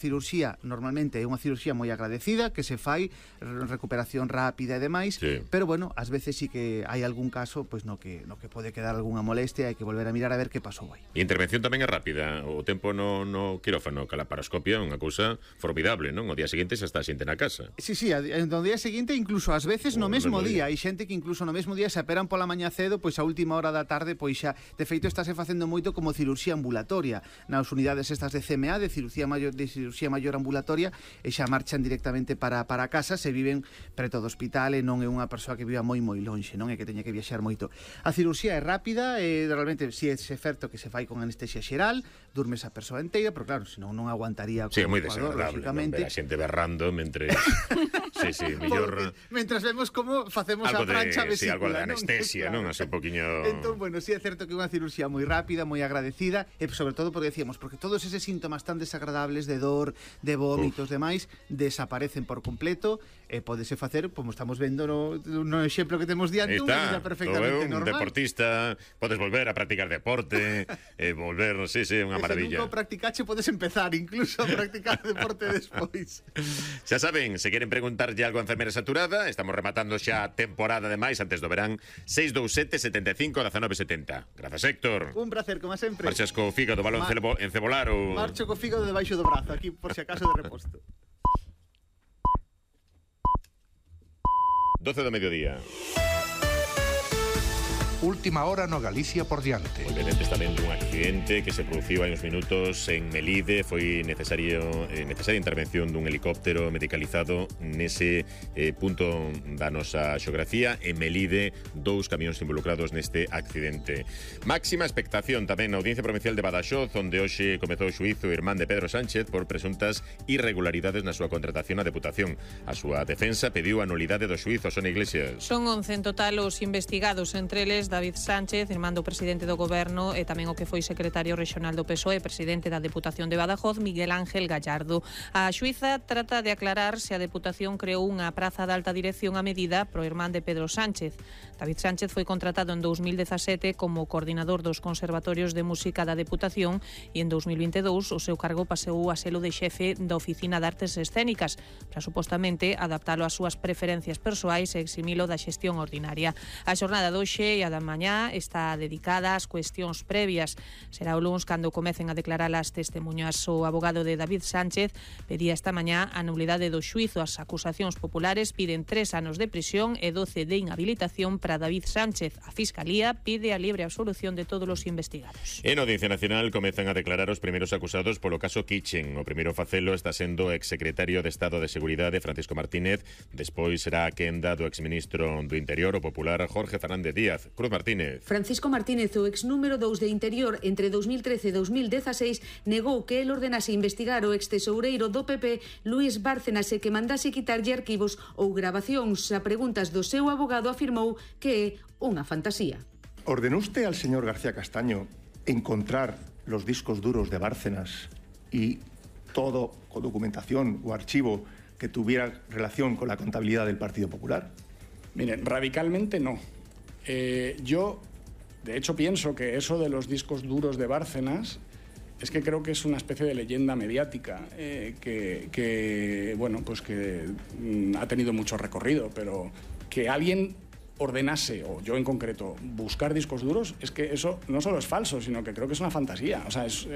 cirurxía normalmente é unha cirurxía moi agradecida, que se fai recuperación rápida e demais, sí. Pero bueno, ás veces sí que hai algún caso pois no que pode quedar algunha molestia, hai que volver a mirar a ver que pasou aí. E a intervención tamén é rápida, o tempo no quirófano, que a laparoscopia é unha cousa formidable, non? O día seguinte xa está a xente na casa. Sí, no día seguinte, incluso ás veces no mesmo día, hai xente que incluso no mesmo día se aperan pola mañá cedo, pois a última hora da tarde, pois xa, de feito estáse facendo moito como cirurxía ambulatoria, nas unidades estas de CMA, de cirurxía maior ambulatoria, e xa marchan directamente para casa, se viven preto do hospital e non é unha persoa que viva moi lonxe, non é que teña que viaxar moito. A cirurxía é rápida, e realmente si é certo que se fai con anestesia xeral, durmes a persoa inteira, pero claro, senón non aguantaría. Sí, é moi desagradable, non ver a xente berrando mentre sí, mellor mentras vemos como facemos a prancha vesícula, sí, algo de anestesia, non? Así un poquinho. Entón, bueno, si é certo que é unha cirurxía moi rápida, moi agradecida, e sobre todo porque decíamos, porque todos eses síntomas tan desagradables de dor, de vómitos, demais, desaparecen por completo, e podese facer, como estamos vendo no exemplo que temos diante, unha vida perfectamente normal. Un deportista, podes volver a practicar deporte, volver, sí, unha maravilla. Se nunca practicache, podes empezar incluso a practicar deporte despois. Xa saben, se queren preguntarlle algo a enfermera saturada, estamos rematando xa a temporada de máis antes do verán. 627 75 19 70. Grazas, Héctor. Un placer, como sempre. Marchas co fígado, balón encebolaro. Marcho co fígado debaixo do brazo, aquí por si acaso de reposto. 12 do mediodía. Última hora no Galicia por diante. Obviamente está vendo un accidente que se produciu hai uns minutos en Melide. Foi necesaria intervención dun helicóptero medicalizado nese punto da nosa xeografía. En Melide, 2 camións involucrados neste accidente. Máxima expectación tamén na Audiencia Provincial de Badaxoz, onde hoxe comezou o xuízo o irmán de Pedro Sánchez por presuntas irregularidades na súa contratación á Deputación. A súa defensa pediu a nulidade do xuízo. Sonia Iglesias. Son 11 en total os investigados, entre eles David Sánchez, irmán do presidente do Goberno, e tamén o que foi secretario rexional do PSOE, presidente da Deputación de Badajoz, Miguel Ángel Gallardo. A xuíza trata de aclarar se a Deputación creou unha praza de alta dirección a medida pro irmán de Pedro Sánchez. David Sánchez foi contratado en 2017 como coordinador dos conservatorios de música da Deputación e en 2022 o seu cargo pasou a selo de xefe da Oficina de Artes Escénicas para supostamente adaptalo ás súas preferencias persoais e eximilo da xestión ordinaria. A xornada doxe e a da mañá está dedicada ás cuestións previas. Será o luns cando comecen a declarar as testemunhas. O abogado de David Sánchez pedía esta mañá a nulidade do xuízo. As acusacións populares piden 3 anos de prisión e 12 de inhabilitación para David Sánchez. A Fiscalía pide a libre absolución de todos os investigados. En Audiencia Nacional comezan a declarar os primeiros acusados polo caso Kitchen. O primeiro facelo está sendo o exsecretario de Estado de Seguridade, Francisco Martínez. Despois será a quenda do exministro do Interior, o popular Jorge Fernández Díaz. Cruz Martínez. Francisco Martínez, o ex número 2 de Interior entre 2013 e 2016, negou que el ordenase investigar o ex tesoureiro do PP, Luís Bárcenas, e que mandase quitarlle arquivos ou grabacións. A preguntas do seu abogado afirmou que é unha fantasía. ¿Ordenó usted al señor García Castaño encontrar los discos duros de Bárcenas y todo con documentación o archivo que tuviera relación con la contabilidad del Partido Popular? Miren, radicalmente no. Yo, de hecho, pienso que eso de los discos duros de Bárcenas es que creo que es una especie de leyenda mediática que bueno, pues que ha tenido mucho recorrido, pero que alguien ordenase, o yo en concreto, buscar discos duros, es que eso no solo es falso, sino que creo que es una fantasía. O sea, es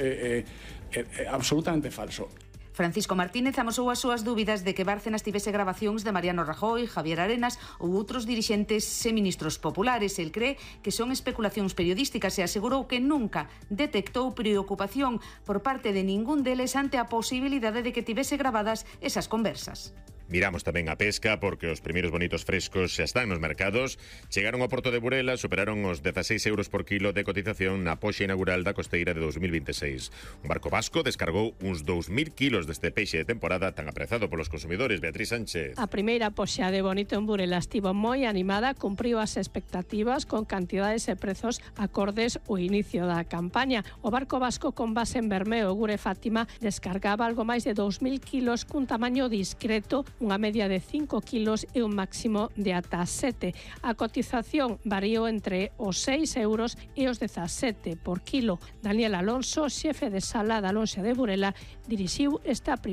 absolutamente falso. Francisco Martínez amosou as súas dúbidas de que Bárcenas tivese grabacións de Mariano Rajoy, Javier Arenas ou outros dirixentes e ministros populares. El cree que son especulacións periodísticas e asegurou que nunca detectou preocupación por parte de ningún deles ante a posibilidade de que tivese grabadas esas conversas. Miramos tamén a pesca porque os primeiros bonitos frescos xa están nos mercados. Chegaron ao porto de Burela, superaron os 16 euros por kilo de cotización na poxa inaugural da costeira de 2026. Un barco vasco descargou uns 2.000 kilos deste peixe de temporada tan aprezado polos consumidores. Beatriz Sánchez. A primeira poxa de bonito en Burela estivo moi animada, cumpriu as expectativas con cantidades e prezos acordes ao inicio da campaña. O barco vasco con base en Bermeo, Gure Fátima, descargaba algo máis de 2.000 kilos cun tamaño discreto, unha media de 5 kilos e un máximo de ata 7. A cotización variou entre os 6 euros e os 17 por kilo. Daniel Alonso, xefe de sala da Lonxa de Burela, dirixiu esta primeira